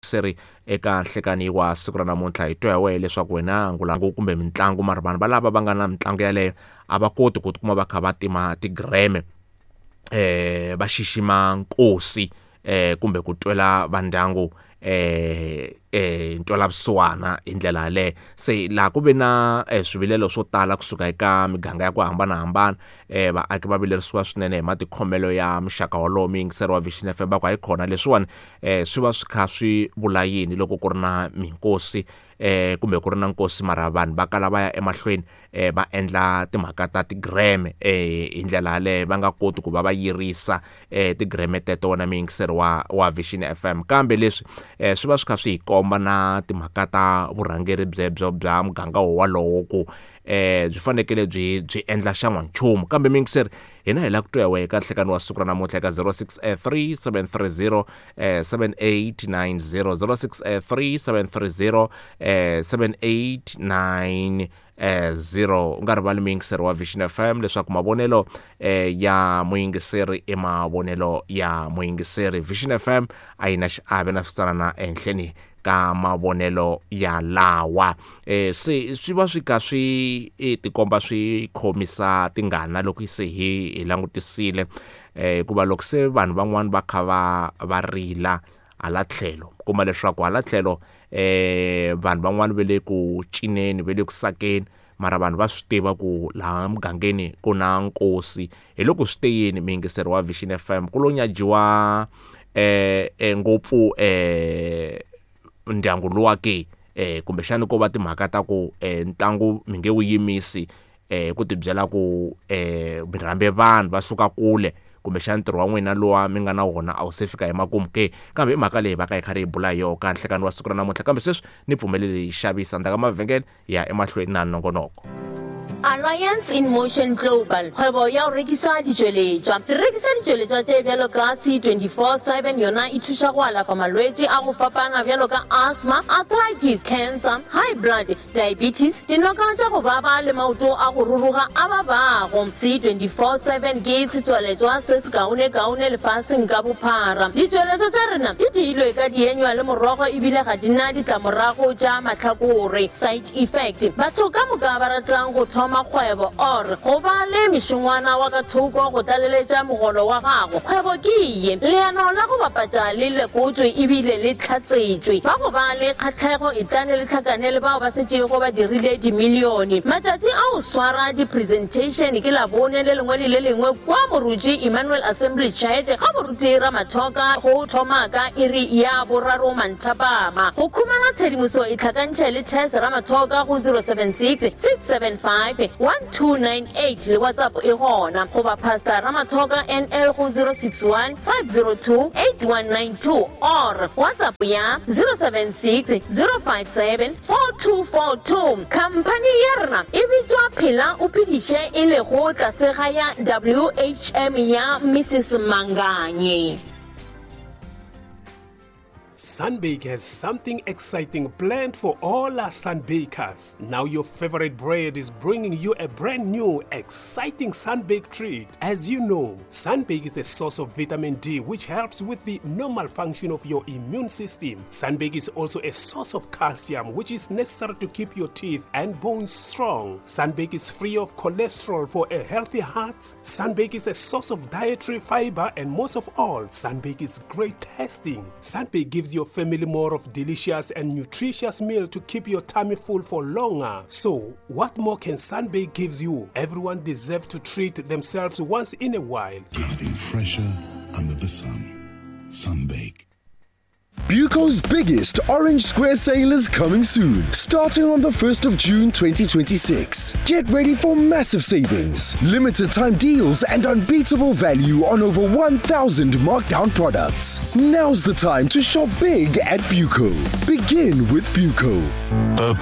muyingiseri eka nhlekani wa siku ra namuntlha hi twa hi wehe leswaku wena ngulangu kumbe mitlangu mara vanhu valava va nga na mitlangu yaleyo a va koti ku tikuma va kha va tima tigreme va xixima nkosi kumbe ku twela va ndyangu ntwela vusiwana hi ndlela yaleyo. Se laha ku ve na swivilelo swo tala kusuka eka miganga ya ku hambanahambana, vaaki va vilerisiwa swinene hi matikhomelo ya muxaka wolowo. Muyingiseri wa Vision FM va ku hayikhona leswiwani swi va swi kha swi vula yini loko ku ri na minkosi kumbe ku ri na nkosi mara vanhu va kala va ya emahlweni va endla timhaka ta tigreme hi ndlela yaleyo va nga koti ku va va yirisa tigreme teto wena muyingiseri wa Vision FM. Kambe leswi swi va swi kha swi hi komba na timhaka ta vurhangeri byebyo bya muganga wolowo ku byi fanekele byi endla xan'wanchumu. Kambe muyingiseri hina hi lava ku twa hi wehe eka nhlekani wa siku ra namuntlha eka 063 730 7890, 063 730 7890. U nga rivali muyingiseri wa Vision FM leswaku mavonelo ya muyingiseri i mavonelo ya muyingiseri. Vision FM a yi na xiave na switsanana ehenhleni ka mavonelo ya lawa. Se swi va swi ka swi tikomba swi khomisa tingana loko se hi langutisile, hikuva loko se vanhu van'wani va kha va rila hala tlhelo, kuma leswaku hala tlhelo vanhu van'wani va le ku cineni, va le ku sakeni, mara vanhu va swi tiva ku laha mugangeni ku na nkosi. Hi loko swi te yini muyingiseri wa Vision FM ku lo nyajiwa ngopfu ndyangu luwa ke, kumbexani ko va timhaka ta ku ntlangu mi nge wu yimisi ku tibyela ku mi rhambe vanhu va suka kule, kumbexani ntirho wa n'wina luwa mi nga na wona a wu se fika emakumu ke. Kambe i mhaka leyi va ka hi karhi hi bula hi yona ka nhlekani wa siku ra namuntlha. Kambe sweswi ni pfumeleli hi xavisa ndzhaku ka mavhengele hi ya emahlweni na nongonoko. Alliance in Motion Global, kgwebo ya go rekisa ditšweletšwa. Re rekisa ditšweletšwa tše bjalo ka C24/7, yona e thuša go alafa malwetši a go fapana bjalo ka asthma, arthritis, cancer, high blood, diabetes, dinoka tša go baba le maoto a go ruruga a babago. C24/7 ke setswaletšwa se sekaonekaone lefaseng ka bophara. Ditšweletšwa tša rena di diilwe ka dienywa le morogo ebile ga di na ditlamorago tša mahlakore, side effect. Batho ka moka ba ratang go thoma kgwebo or go ba le mešongwana wa ka thoko go tlaleletša mogolo wa gago, kgwebo ke ye. Leano la go bapatša le lekotšwe ebile le hlatsetšwe. Ba go ba le kgahlego etlane le hlakane le bao ba setšego ba dirile dimilione. Matšatši a go swara di-presentation ke Labone le lengwe le le lengwe kua Moruti Emmanuel Assembly Church ga Moruti Ramathoka go thoma ka iri ya boraro manthapama. Go khumana tshedimoso itlhakantšhe le Tess Ramathoka go 076 675 1298 le WhatsApp e gona, goba Pastor Ramathoka NL go 061 502 8192 or WhatsApp ya 076 057 4242. Khamphani ya rena e bitšwa Phela o Phediše e lego tlase ga ya WHM ya Mrs Manganye. Sunbake has something exciting planned for all our sunbakers. Now your favorite bread is bringing you a brand new, exciting Sunbake treat. As you know, Sunbake is a source of vitamin D, which helps with the normal function of your immune system. Sunbake is also a source of calcium, which is necessary to keep your teeth and bones strong. Sunbake is free of cholesterol for a healthy heart. Sunbake is a source of dietary fiber, and most of all, Sunbake is great tasting. Sunbake gives your family more of delicious and nutritious meal to keep your tummy full for longer. So, what more can Sunbake gives you? Everyone deserves to treat themselves once in a while. Nothing fresher under the sun. Sunbake. Buco's biggest Orange Square sale is coming soon, starting on the 1st of June 2026. Get ready for massive savings, limited time deals, and unbeatable value on over 1,000 markdown products. Now's the time to shop big at Buco. Begin with Buco.